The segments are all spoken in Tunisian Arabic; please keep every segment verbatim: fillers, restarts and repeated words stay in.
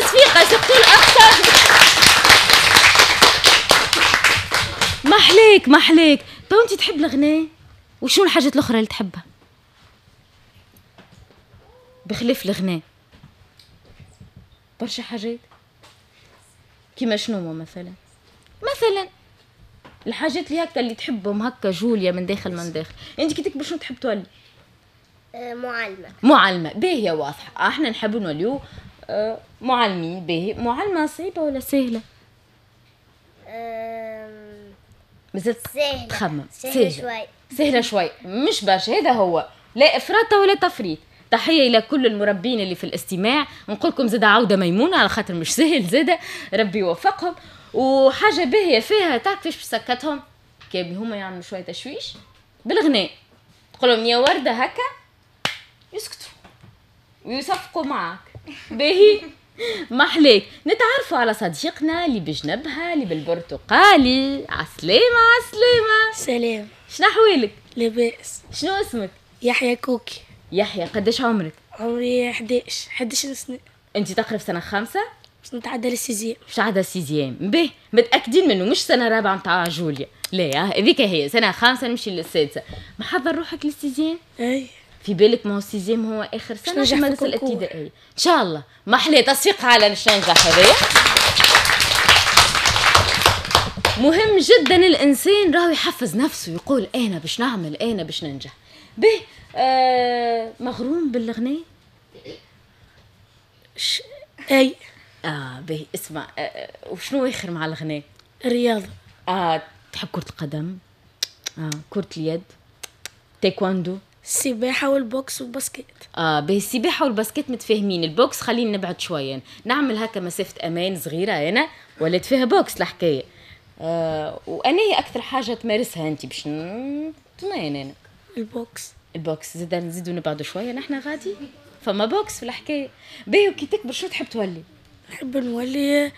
تصفيقه surtout الاخ. محليك محليك. تو انت تحب الغناء، وشنو الحاجات الاخرى اللي تحبها بخلاف الغناء؟ برشا حاجات. كيما شنو مثلا؟ مثلا الحاجات اللي هكا اللي تحبهم هكا جوليا من داخل من داخل. انت كي تكبر شنو تحب تولي؟ معلمة. معلمة، باهية واضحة، احنا نحب نوليو معلمين. باهي، معلمة صعيبة ولا سهلة؟ مازلت سهلة. تخمم. سهلة شوي. سهلة شوي، مش برشا. هذا هو، لا إفراط ولا تفريط. تحية إلى كل المربين اللي في الاستماع، نقول لكم زادة عودة ميمونة على خاطر مش سهل زادة، ربي يوفقهم. وحاجة باهية فيها تعرف كيفاش بسكتهم؟ كي هما يعملوا شوية تشويش بالغناء، تقول لهم يا وردة هكا يسكتوا ويصفقوا معك. باهي محليك. نتعرفوا على صديقنا اللي بجنبها اللي بالبرتقالي. عسلامة. عسلامة. سلام. شنو أحوالك؟ لاباس. شنو اسمك؟ يحيى كوكي. يحيى، قداش عمرك؟ عمري احداش، احداش سنة. انت تقرا في سنة خامسة؟ باش نتعدى لل sixième. باش تعدى ال sixième، باهي، متأكدين منه مش سنة رابعة نتاع جوليا، لا هذيك هي سنة خامسة نمشي للسادسة. محضر روحك لل sixième؟ اي. في بالك ما هو ال sixième هو آخر سنة في المدرسة الابتدائية. إن شاء الله. محلي تصفيق على باش ننجح هذايا. مهم جدا الإنسان راهو يحفز نفسه، يقول أنا باش نعمل، أنا باش ننجح. به آه مغروم بالغناء؟ ش... اي. اه به اسمع، آه وشنو اخر مع الغناء؟ الرياضة. اه تحب كرة القدم؟ اه كرة اليد، تايكواندو، السباحة وال boxe وال basket. اه به السباحة وال basket متفاهمين، ال boxe خلينا نبعد شوية، نعمل هكا مسافة امان صغيرة انا ولات فيها boxe الحكاية. آه وانا هي اكثر حاجة تمارسها انت باش نطمئن انا؟ ال boxe. ال boxe زاد نزيدو نبعدو شوية نحنا غادي فما boxe في الحكاية. باهي، وكي تكبر شنو تحب تولي؟ نحب نولي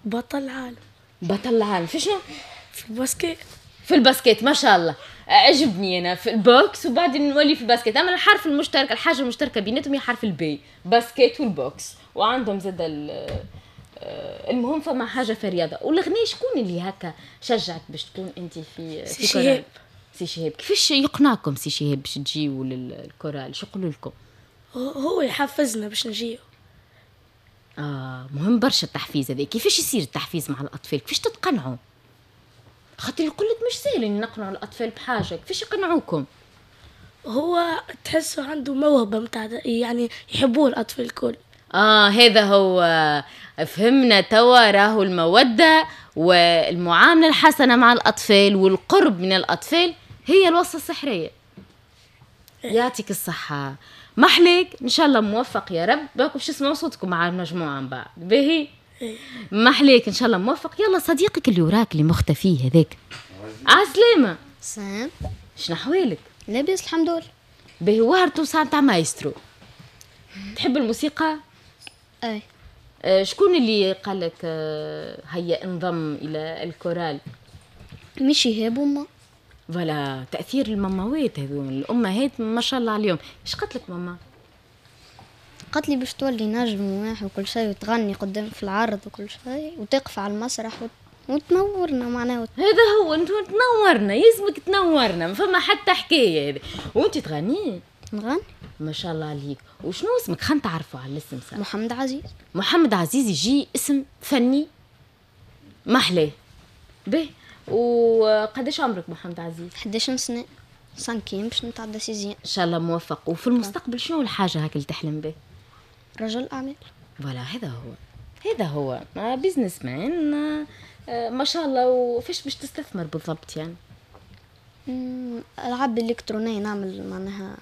بطل العالم. بطل العالم في شنو؟ في ال basket. في ال basket، ما شاء الله، عجبني انا في ال boxe وبعدين نولي في ال basket. اما الحرف المشترك، الحاجة المشتركة بيناتهم هي حرف ال B، basket وال boxe، وعندهم زاد المهم فما حاجة في الرياضة. والغناء شكون اللي هكا شجعك باش تكون انت في سي شهاب؟ سي شهاب. كيفاش يقنعكم سي شهاب باش تجيو للكورال؟ شو يقولوا لكم؟ هو يحفزنا باش نجيو. اه مهم برشا التحفيز هذا. كيفاش يصير التحفيز مع الاطفال؟ كيفاش تتقنعوا؟ خاطر يقول لك مش سهل اني نقنع الاطفال بحاجة، كيفاش يقنعوكم؟ هو تحسه عنده موهبة متاع، يعني يحبوه الاطفال الكل. اه هذا هو، فهمنا توا راهو المودة والمعاملة الحسنة مع الاطفال والقرب من الاطفال هي الوصفة السحريه. يعطيك الصحة، محليك، ان شاء الله موفق يا رب. باكم باش تسمعوا صوتكم مع المجموعة من بعد. باهي محليك، ان شاء الله موفق. يلا صديقك اللي وراك اللي مختفي هذاك، عسلامة. سلام. شنو احوالك؟ لاباس الحمد لله. باهي، وهرتو ساعة تاع مايسترو. تحب الموسيقى؟ اي. آه شكون اللي قال لك آه هيا انضم الى الكورال؟ مش شهاب وما. voilà، تاثير الماماوات هذو، الامهات ما شاء الله عليهم. ايش قالت لك ماما؟ قالت لي باش تولي نجم واحد وكل شيء، وتغني قدام في العرض وكل شيء، وتقف على المسرح وت... وتنورنا معناها وت... هذا هو، انت تنورنا، يلزمك تنورنا، ما فما حتى حكاية هذه. وانت تغني؟ نغني. ما شاء الله عليك. وشنو اسمك؟ خلينا نتعرفوا على الاسم ساعة. محمد عزيز. محمد عزيز يجي اسم فني محلاه. به، وقداش عمرك محمد عزيز؟ احداش سنة، cinquième باش نتعدى sixième. ان شاء الله موفق. وفي المستقبل شنو الحاجة هاك اللي تحلم به؟ رجل اعمال. voilà، هذا هو، هذا هو businessman ما شاء الله. وفاش باش تستثمر بالضبط يعني؟ العاب الكترونية، نعمل معناها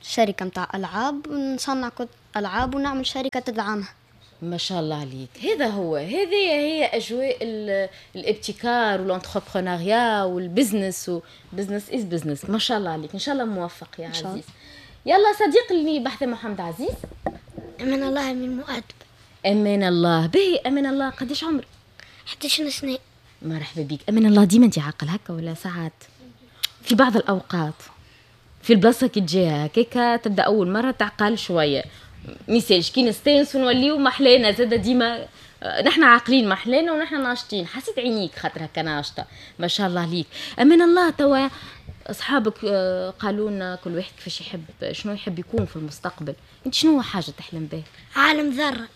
شركة متاع العاب، ونصنع العاب ونعمل شركة تدعمها. ما شاء الله عليك. هذا هو، هذه هي اجواء الابتكار وال entrepreneuriat وال business، و business is business. ما شاء الله عليك، ان شاء الله موفق يا عزيز. يلا صديق اللي بحث محمد عزيز. امان الله من مؤدب. امان الله. باهي، امان الله قداش عمرك؟ احداش سنة. مرحبا بك. امان الله، ديما انت عاقل هكا ولا ساعات في بعض الاوقات في البلاصة كي تجيها هكاكا تبدا اول مرة تعقل شوية ميسالش كي نستانسوا نوليو محلانا زاده ديما نحن عاقلين محلانا ونحن ناشطين. حسيت عينيك خاطر هكا ناشطة ما شاء الله عليك. امان الله توا اصحابك قالوا لنا كل واحد كيفاش يحب، شنو يحب يكون في المستقبل، انت شنو حاجة تحلم بها؟ عالم ذره.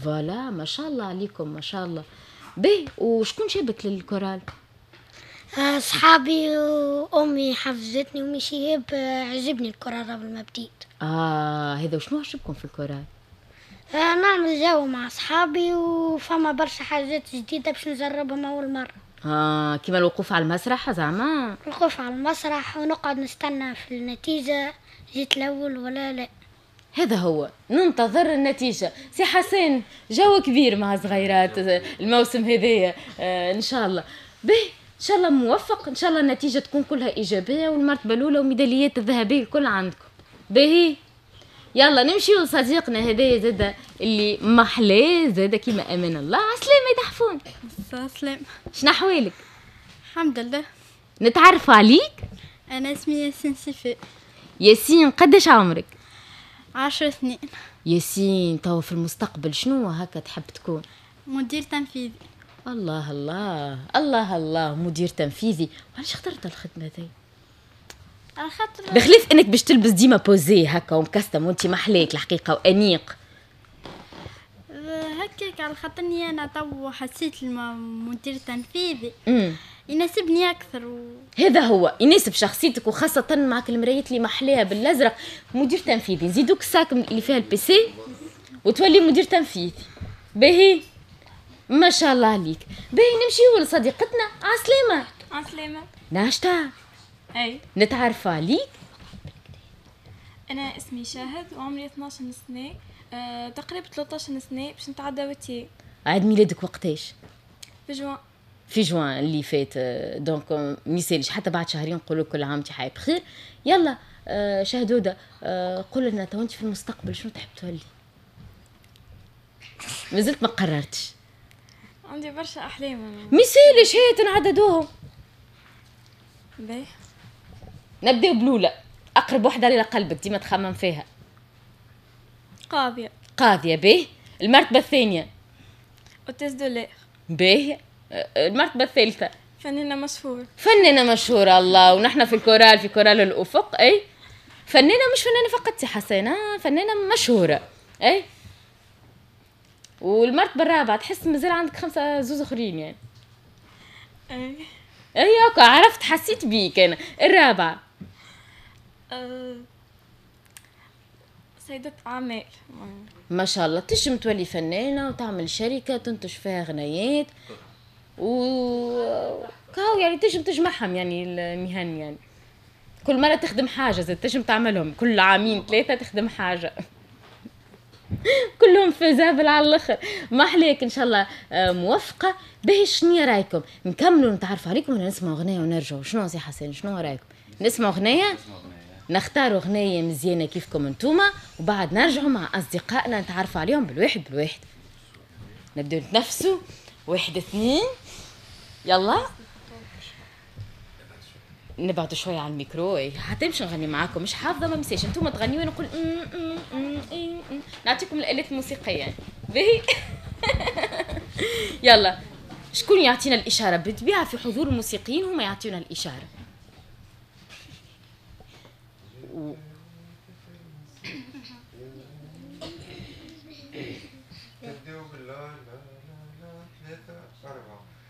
voilà ما شاء الله عليكم ما شاء الله. به وشكون جابك للكورال؟ اصحابي وامي حفزتني وامي شهاب، عجبني الكورال قبل ما بديت. اه هذا وشنو عجبكم في الكورال؟ آه نعمل جو مع اصحابي وفما برشا حاجات جديدة باش نجربهم اول مرة. اه كيما الوقوف على المسرح زعما؟ الوقوف على المسرح ونقعد نستنى في النتيجة، جيت الاول ولا لا. هذا هو، ننتظر النتيجة. سي حسين جو كبير مع صغيرات الموسم هذايا، آه ان شاء الله به، ان شاء الله موفق، ان شاء الله النتيجة تكون كلها ايجابية والمرتبة الاولى وميداليات الذهبية الكل عندكم. باهي يلا نمشيو لصديقنا هدايا زاده اللي محلاه زاده كيما امان الله. عسلامة يا تحفون. عسلامة، شنو احوالك؟ الحمد لله. نتعرفوا عليك؟ انا اسمي ياسين سيفي. ياسين قداش عمرك؟ عشر سنين. ياسين تو في المستقبل شنو هكا تحب تكون؟ مدير تنفيذي. الله الله الله الله، مدير تنفيذي. وعلاش اخترت الخدمة ذي؟ على خاطر بخلاف انك باش تلبس ديما posé هكا ومكستم وانت محليك الحقيقة وانيق هكاك، على خاطرني انا تو حسيت المدير التنفيذي يناسبني اكثر و... هذا هو يناسب شخصيتك، وخاصة معك المرايات اللي محليها بالازرق. مدير تنفيذي نزيدوك ال sac اللي فيها ال PC وتولي مدير تنفيذي. باهي ما شاء الله عليك. باهي نمشيو لصديقتنا. عسلامة. عسلامة. ناشطة. اي نتعرفوا عليك؟ انا اسمي شاهد وعمري اثنا عشر سنة، أه، تقريبا ثلاثة عشر سنة باش نتعدى وتي. عيد ميلادك وقتاش؟ في جوان. في جوان اللي فات، donc ميسالش حتى بعد شهرين نقولوا كل عام انت حي بخير. يلا أه شهدوده، أه قول لنا تو انت في المستقبل شنو تحب تولي؟ مازلت ما قررتش؟ عندي برشا احلام. ميسالش هات نعددوهم. باهي نبداو بلوله، اقرب وحده لقلبك ديما تخمم فيها. قاضيه. قاضيه باهي. المرتبة الثانية hôtesse de l'air. باهي. المرتبة الثالثة فنانة مشهورة. فنانة مشهورة، الله. ونحن في الكورال، في كورال الافق. اي فنانة، مش فنانة فقط سي حسين، فنانة مشهورة. اي والمرتبة الرابعة تحس مازال عندك خمسة زوز اخرين يعني. اي اي هكا عرفت، حسيت بيك انا. الرابعة أه... سيدة أعمال. ما شاء الله تجم تولي فنانة وتعمل شركة تنتج فيها غنيات و كاو يعني تجم تجمعهم يعني المهن، يعني كل مرة تخدم حاجة زي تجم تعملهم كل عامين ثلاثة تخدم حاجة. كلهم faisables على الاخر. ما عليك ان شاء الله موفقة. باهي شنو رايكم نكملوا نتعرفوا عليكم ولا نسمعوا اغنية ونرجعوا؟ شنو سي حسين شنو رايكم؟ نسمعوا اغنية، نختاروا اغنية مزيانه كيفكم انتوما، وبعد نرجعوا مع اصدقائنا نتعرفوا عليهم بالواحد بالواحد. نبداو نتنفسوا، واحد اثنين يلا. نبعدوا شوية على الميكرو حتى نمشي نغني معاكم، مش حافظه ما مساش انتوما تغنيوا نقول نعطيكم الالات الموسيقية يعني. باهي يلا شكون يعطينا الاشارة؟ بالطبيعة في حضور الموسيقيين هما يعطيونا الاشارة. و...